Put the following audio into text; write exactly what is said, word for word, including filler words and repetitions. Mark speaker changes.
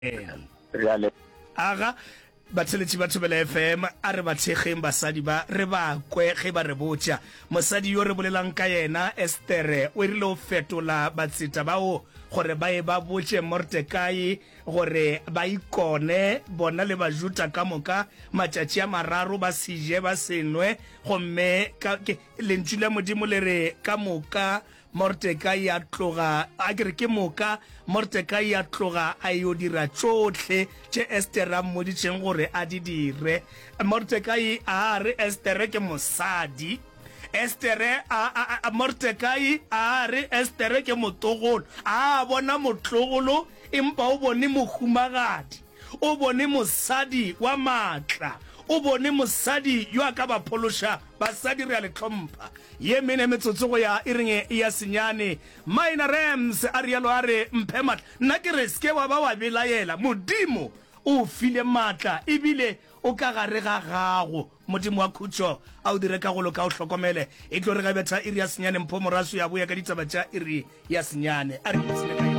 Speaker 1: Re a
Speaker 2: Aga, batheeletši ba Thobela FM, a re ba thekgeng basadi ba, re ba kwe ge ba re botša. Mosadi yo re bolelang ka yena, Estere, o rile o fetola batseta bao gore ba ye ba botše Mordekai gore ba ikone, bona le Bajuda ka moka, matšatši a mararo ba se je ba se nwe, gomme ka, ke, Lentšu la Modimo le re ka moka Mordekai a tloga, a ke re, ke moka Mordekai a tloga a yo dira tšohle tše Estere a mmoditšeng gore a di dire. Mordekai a re Estere ke mosadi. Estere a, a, a, Mordekai a re Estere ke motlogolo. A bona motlogolo, empa o bone mohumagadi. O bone mosadi wa maatla. O bone mosadi yo a ka ba phološa. Basadi re a le hlompha. Ye mene metsotso go ya iring ya senyane. Minor Rams a realo a re, Mphe maatla. Nna ke re, se ke wa ba wa belaela. Modimo o o file maatla, ebile o ka gare ga gago. Modimo wa khutšo a o dire ka go loka, a o hlokomele. E tlo re ge betha iri ya senyane, Mpho Moraswi a boya ka ditaba tša iri ya senyane. A re ipshine ka yona.